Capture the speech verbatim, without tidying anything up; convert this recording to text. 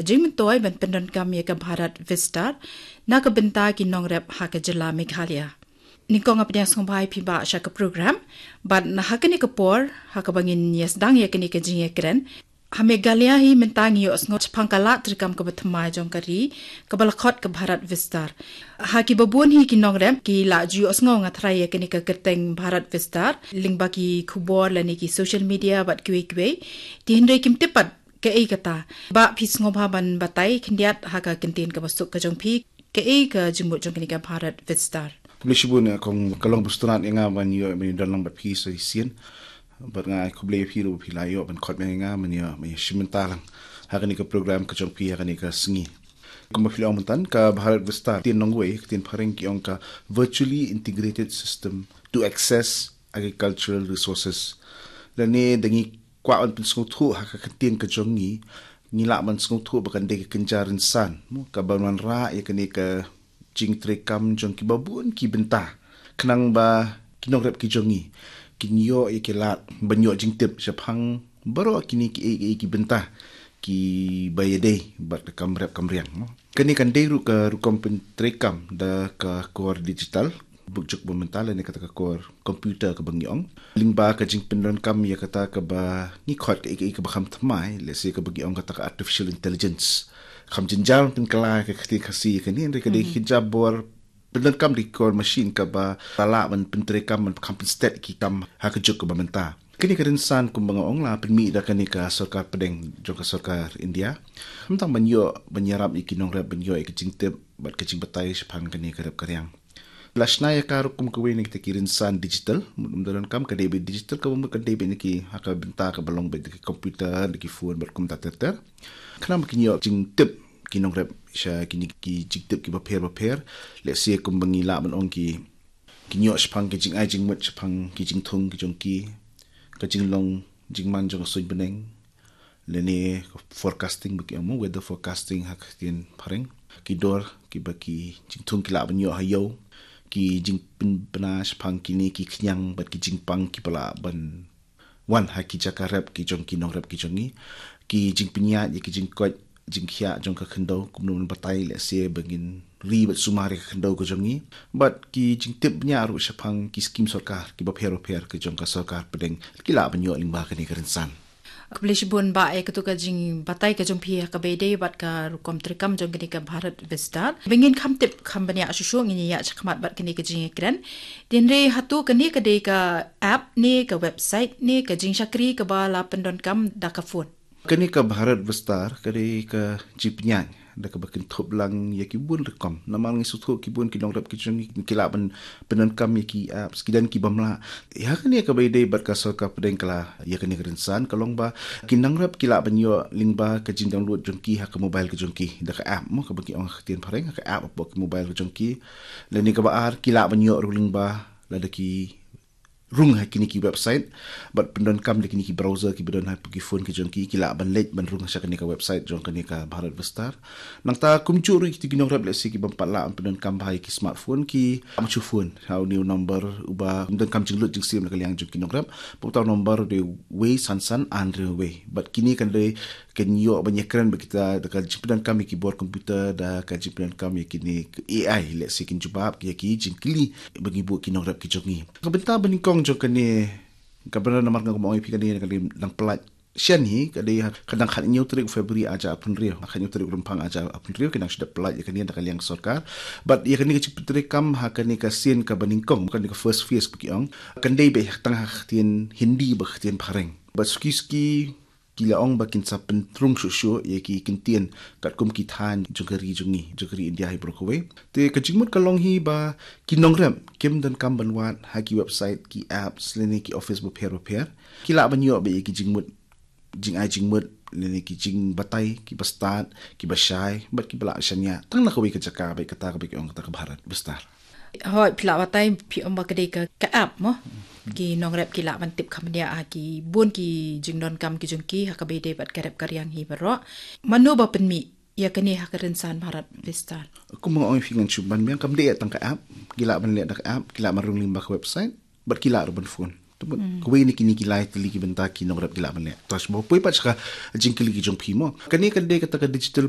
jingmyntoi ban pyndonkam ïa ka Bharat Vistar na ka bynta ki nongrep ha ka jylla Meghalaya. Nyngkong nga pdiang sngewbha ïa phi Bah sha ka program, bad na ha kane ka por, ha kaba ngin ïa sdang ïa kane ka jingïakren, ha Meghalaya hi mynta ngi ïohsngew shaphang ka lad treikam kaba thymmai jong ka ri, kaba la khot ka Bharat Vistar. Ha kiba bun hi ki nongrep ki la ju ïohsngew nga tharai ïa kane ka kyrteng Bharat Vistar lyngba ki khubor lane ki social media bad kiwei kiwei. Te hynrei kim tip pat kaei kata. Bah, phi sngewbha ban batai khyndiat ha ka kyntien kaba suk ka jong phi, kaei ka jingmut jong kane ka Bharat Vistar? Khublei shibun, eh, kong, ka long ba sngewtynnat ïa nga ban ïoh, ban ïadon lang bad phi sa shisien. Bad nga khublei ïa phi ruh ba phi la ïoh ban khot ïa nga ban ïoh, ban ïoh shim bynta lang ha kane ka program ka jong phi ha kane ka sngi. Kumba phi la ong mynta, ka Bharat Vistar, ktien nongwei, ktien phareng ki ong ka Virtually Integrated System to Access Agricultural Resources. Lane da ngi kwah ban pynsngewthuh ha ka kyntien ka jong ngi, ngi lah ban sngewthuh ba kan dei ka kynja rynsan, mo, kaban wanrah ïa kane ka jingtreikam jong kiba bun ki bynta, khnang ba ki nongrep ki jong ngi kin ïoh ïa ki lad ban ïoh jingtip shaphang baroh kine kiei kiei ki bynta kiba ïadei bad ka kam rep kam riang, mo. Kane kan dei ruh ka rukom pyntreikam da ka kor digital, bad juk ba mynta lane kata ka kor computer kaba ngi ong. Lyngba ka jingpyndonkam ïa kata kaba ngi khot kaei kaei kaba kham thymmai, lehse kaba ngi ong kata ka artificial intelligence. Kham jynjar ban pynkylla ka ktien Khasi ïa kane, hynrei ka dei ka jabor pyndonkam da ki kor machine kaba la lah ban pyntreikam, ban kham pynstet ki kam ha ka juk kaba mynta. Kane ka rynsan kumba nga ong la pynmih da kane ka sorkar pdeng jong ka sorkar India. Khamtam ban ïoh, ban ïarap ïa ki nongrep ban ïoh ïa ka jingtip bad ka jingbatai shaphang kane ka rep ka riang. La shna ïa ka ruh kum kawei na kita ki rynsan digital, mut ym donkam ka dei beit digital, kaba mut ka dei beit na ki ha ka bynta kaba long beit da ki computer, da ki phone bad kumta ter ter. Khnang ba kin ïoh jingtip ki nongrep sha kine ki jingtip kiba pher ba pher. Lehse kumba ngi lah ban ong ki, kin ïoh shaphang ki jingai jingmut shaphang ki jingthung ki jong ki, ka jinglong jingman jong ka suiñ bneng, lane forecasting ba ki ong, mo, weather forecasting ha ka ktien phareng, ki dor kiba ki jingthung ki lah ban ïoh ha ïew, ki jingpynbna shaphang kine ki khñiang bad ki jingpang kiba lah ban wan ha ki jaka rep ki jong ki nongrep ki jong ngi, ki jingpynïaid ïa ki jingkoit jingkhiah jong ka khyndew, kumno ban batai lehse ba ngin ri bad sumar ïa ka khyndew ka jong ngi, bad ki jingtip bniah ruh shaphang ki skim sorkar kiba pher ba pher ki jong ka sorkar pdeng, ki lah ban ïoh lyngba kane ka rynsan. Khublei shibun Bah ïa katu ka jingbatai ka jong phi ha kaba ïadei bad ka rukom treikam jong kane ka Bharat Vistar. Ba ngin kham tip kham bniah shuh shuh, ngin ïa ïaid shakhmat bad kane ka jingïakren. Te hynrei hato kane ka dei ka app ne ka website ne ka jingshakri kaba la pyndonkam da ka phone? Kane ka Bharat Vistar ka dei ka jingpynïaid da kaba kynthup lang ïa ki bun rukom. Namar ngi sngewthuh ki bun ki nongrep ki jong ngi ki lah ban pyndonkam ïa ki apps, ki don ki bym lah. Ïa kane kaba ïadei bad ka sorkar pdeng ka la ïa kane ka rynsan ka long ba ki nongrep ki lah ban ïoh lyngba ka jingdownload jong ki ha ka mobile ka jong ki da ka app, mo, kaba ki ong ha ka ktien phareng, ha ka app hapoh ka mobile ka jong ki. Lane kaba ar, ki lah ban ïoh ruh lyngba lada ki rung ha kine ki website bad pyndonkam da kine ki browser kiba don hapoh ki phone ki jong ki, ki lah ban leit ban rung sha kane ka website jong kane ka Bharat Vistar. Nangta kumjuh ruh ïa kito ki nongrep lehse ki bym pat lah ban pyndonkam bha ïa ki smartphone, ki ap ma shu phone ha une u number uba pyndonkam jinglut jingsim na ka liang jong ki nongrep, uta u number dei wei san san ar hynriew wei. Bad kine kan dei, kan ïoh ban ïakren bad kita da ka jingpyndonkam ïa ki bor computer, da ka jingpyndonkam ïa kine A I, lehse kin jubab ïa ki jingkylli ba ngi buh ki nongrep ki jong ngi. Ka bynta ba nyngkong jong kane, ka bynta namar nga kum ong ïa phi kane, kane dang pyllait shen hi, ka dei ha, ka dang khathynñiew tarik February arhajar arphew hynriew, khathynñiew tarik Rymphang arhajar arphew hynriew, ki nang shu dep pyllait ïa kane da ka liang sorkar. Bad ïa kane ka jingpyntreikam ha kane ka sien kaba nyngkong, kane ka first phase ba ki ong, kan dei beit tang ha ka ktien Hindi bad ka ktien phareng. Bad suki suki ki la ong ba kin sa pynrung shuh shuh ïa ki kyntien katkum ki thaiñ jong ka ri jong ngi, jong ka ri India hi baroh kawei. Te ka jingmut ka long hi ba ki nongrep kim donkam ban wad ha ki website, ki apps lane ki office bapher bapher. Ki lah ban ïoh beit ïa ki jingmut, jingai jingmut lane ki jingbatai kiba stad, kiba shai bad kiba lah shaniah tang na kawei ka jaka, bad kata kaba ki ong kata ka Bharat Vistar. Hooid, phi lah batai, phi ong ba ka dei ka, ka app, mo. Ki nongrep ki lah ban tip kham bniah ha ki bun ki jingdonkam ki jong ki ha kaba ïadei bad ka rep ka riang hi baroh. Mano ba pynmih ïa kane ha ka rynsan Bharat Vistar? Kumba nga ong ïa phi ngan shu ban biang, kam dei tang ka app, ki lah ban leh da ka app, ki lah ban rung lyngba ka website, bad ki lah ruh ban phone. Kawei na kine ki lai tylli ki bynta ki nongrep ki lah ban leh. Te shu poi pat sha ka jingkylli ki jong phi mo. Kane ka dei kata ka digital